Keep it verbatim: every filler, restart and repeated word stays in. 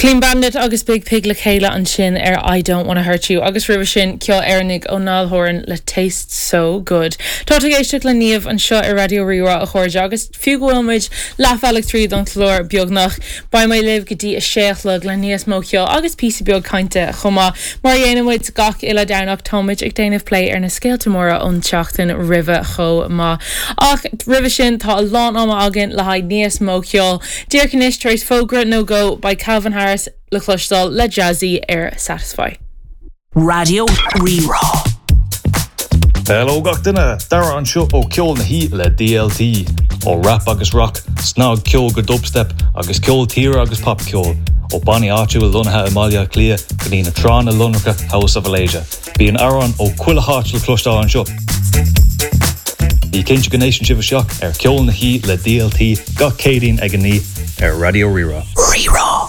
Clean Bandit agus Biig Piig le chéile ansin ar I don't wanna hurt you agus roimhe sin ceol Éireannach ó Niall Horan le Taste So Good. Tá ag éisteacht le Niamh anseo ar Raidió Rí-Rá a chairde agus fiú go bhfuil muid leathbhealach tríd an chlár beagnach beidh mé libh go dtí a sé a chlog le níos mó ceoil agus píosa beag cainte chomh maith mar a dhéanaimid gach uile Domhnach táimid ag déanamh plé ar na scéalta móra ón tseachtain roimhe chomh maith. Ach roimhe sin tá a lán ama againn le haghaidh níos mó ceoil. Díreach anois tar éis fógra nó dhó beidh Calvin Harris le cloisteáil le Jazzy ar Satisfy. Raidió Rí-Rá. Hello gach duine Dara anseo ó Ceol na hOíche le DLT ó rap agus rock, snagcheol go dubstep agus ceol tíre agus popcheol ó bannaí áitiúla lonnaithe i mBaile Átha Cliath go dtí na tránna lonracha House of Alasia. Bíonn amhráin ó chuile áit le cloisteáil anseo. Bí cinnte go n-éisteann sibh isteach ar Ceol na hOíche le DLT gach Céadaoin ag a naoi ar Raidió Rí-Rá. Rí-Rá.